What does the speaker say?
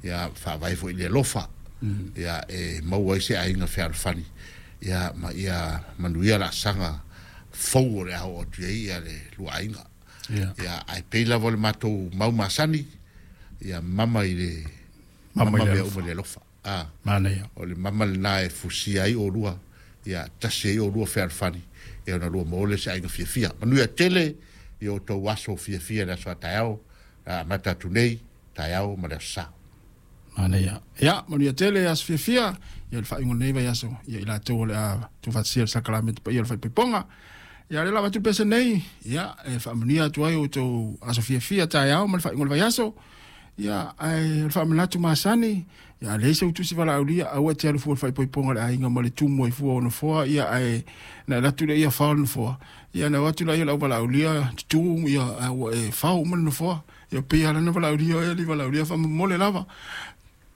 Ia faavae foi i le alofa. Ia e maua ai se aiga fealofani ia ma ia manuia laasaga fou o le a oo atu i ai ia le lua aiga. Ia ae pei lava o le matou mau masani, ia mama i le mama mea uma i le alofa. A manaia. O le mama lena e fusia ai oulua, ia tasi ai oulua fealofani, ia ona lua maua lea o se aiga fiafia. Manuia tele i o outou aso fiafia i le aso a taeao, a amata atu nei, taeao ma le aso Sa. Manaia. Ia, manuia tele aso fiafia, ia le faaiuga o lenei vaiaso, ia i latou o le a tuufaatasia le sakalamene paia o le faaipoipoga. Ia, o lea la avatu le pese nei, ia, e faamanuia atu ai outou aso fiafia taeao ma le faaiuga o le vaiaso. Ia, ae o le faamanatu masani, ia, a leai sau tusi valaaulia, aua e te alu fua i le faaipoipoga a le aiga ma le tumu ai fua o nofoa, ia, ae na e alu atu lea ia fao le nofoa, ia ona o atu lea o le auvalaaulia tutu, ia, ae ua e fao uma le nofoa. Ia pei lava la ona valaaulia oe alii valaaulia faamomole lava.